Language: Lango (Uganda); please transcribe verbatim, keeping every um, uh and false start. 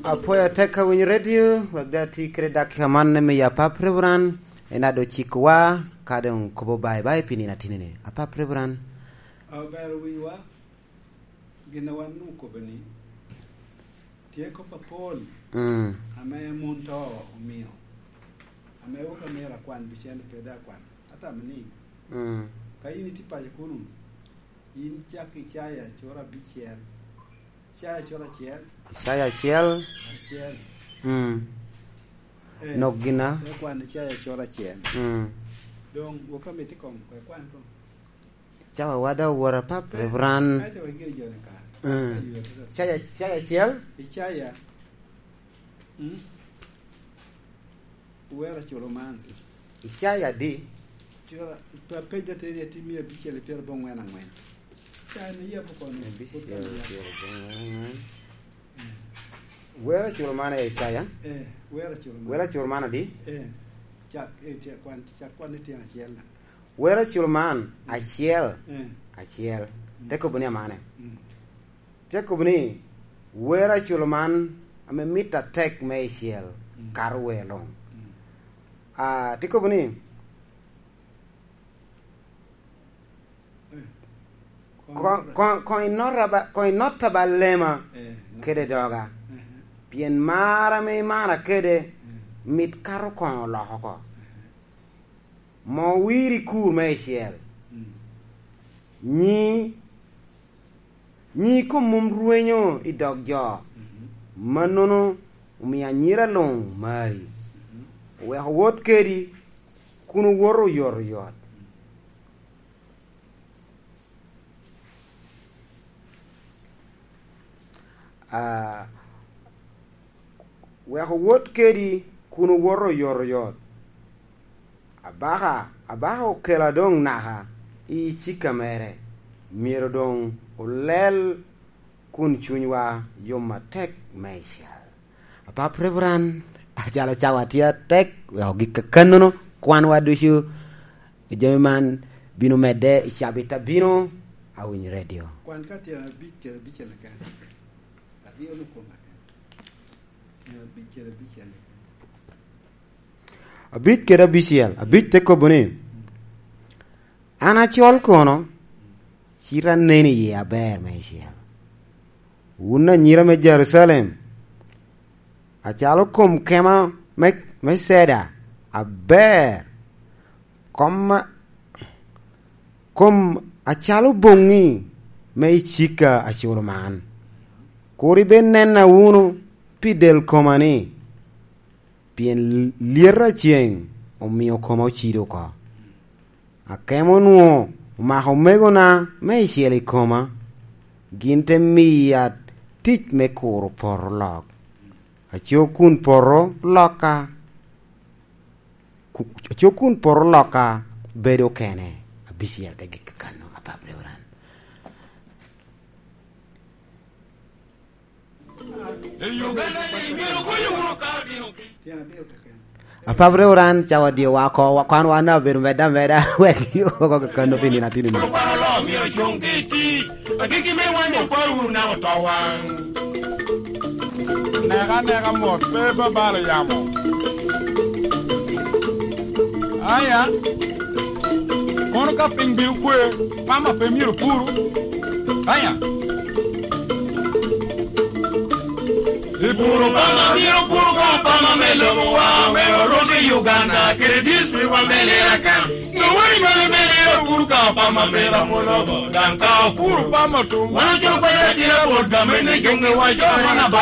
Apwoyo atek ka winyo redio, wek da ti kede dakika man me miyo apap Reverend, en ado cikwa, ka doŋ kobo bye bye pi nino atinini. Apap Reverend. Obero wiwa, gin a wan okobo ni, tye kop apol, mm, ame mun to omio, ame wok amiro akwan, ducen pe da akwan. Atamo ni, mm, ka in itye paco kunu, in cak Icaya cura abicel. Icaya cura acel. Icaya acel. Acel. Mm. Eh, nok gina? Te kwan Icaya cura acel. Mm. Doŋ wok amito koŋ, kwe kwan koŋ. Cawa wada wora pap, eh, Reverend. Aca wek gire jone kare. Mm. Ayo, ayo. Icaya, Icaya acel? Icaya. Mm. Wera culo man. Icaya adi? Cura, pe-, pej ateni ati mia abicel i pyerabongwen angwen. Icaya ni yabo kono. Abicel, pyerabongwen angwen. Eh. Wera culo man, eh, Icaya? Eh, wera culo man. Wera culo man adi? Eh, cak, eh, cak kwan, cak kwan ni tyen acel na. Wera culo man, mm, acel, eh, acel. Mm. Te kobo ni amane. Mm. Te kobo ni, wera culo man ame mit atek me icel, mm, kato wer luŋ. Mm. Ah, te kobo ni, eh, koŋ, koŋ, koŋ inota ba, koŋ inota ba lema, eh, kede doga. Eh. Pien mar ame imara kede, eh, mit kato koŋ oloko oko. Eh. Mo wiri kur me icel. Mm. Nyi, nyi kom mom rwenyo i dog jo. Mhm. Mannono omio anyira luŋ mari. Mhm. Oweko wot kedi, kun owoto oyot oyot. Ah, wek owot kedi kun owoto oyot oyot. Abaka, abaka okela doŋ naka i cikka mere, myero doŋ olel kun cunywa yom atek meicel. Apap Reverend, acalo cawa tye atek, wek ogik kakannono, kwanwa ducu i jami man bino medde i cabit abino, awiny redio. Kwan ka tyen abic kede abicel keken. Aryo me koma keken. Tyen abic kede abicel keken. Abic kede abicel, abic te kobo ni, "An acol kono, cite aneno i yie aber meicel. Wun anyira me Jerucalem, acalo kom kema me, me ceda aber, kom a, kom acalo boŋŋi me icika aculo man. Kur ibed nena wunu pi del koma ni, pien lyet a ceŋ omio koma ocido oko. Akemo onwoŋo omako omegona me icel i koma, gin te miya tic me kuro poto lok. Aco kun poto lokka, ku-, aco kun poto lokka bedo kene." Abicel te gik kano, Apap Reverend. Apap Reverend, cawa dye wa oko, wa-, kwan wan obedo medde ameda, wek oko kakano pi nino atino ni. Neka, neka mot, pe babalo yamo. Aya, kono ka piny bino kwe, pama pe myero puru. Aya. Ipuro pama, myero pur ko pama me lobowa, me orok i Uganda, kede district wa me Lirakan. Noweri mene mene opur ka pama me ramo lobo, dan ka opur pama tum. Wan ocoko ya tira bot game ne jonge wa jo mana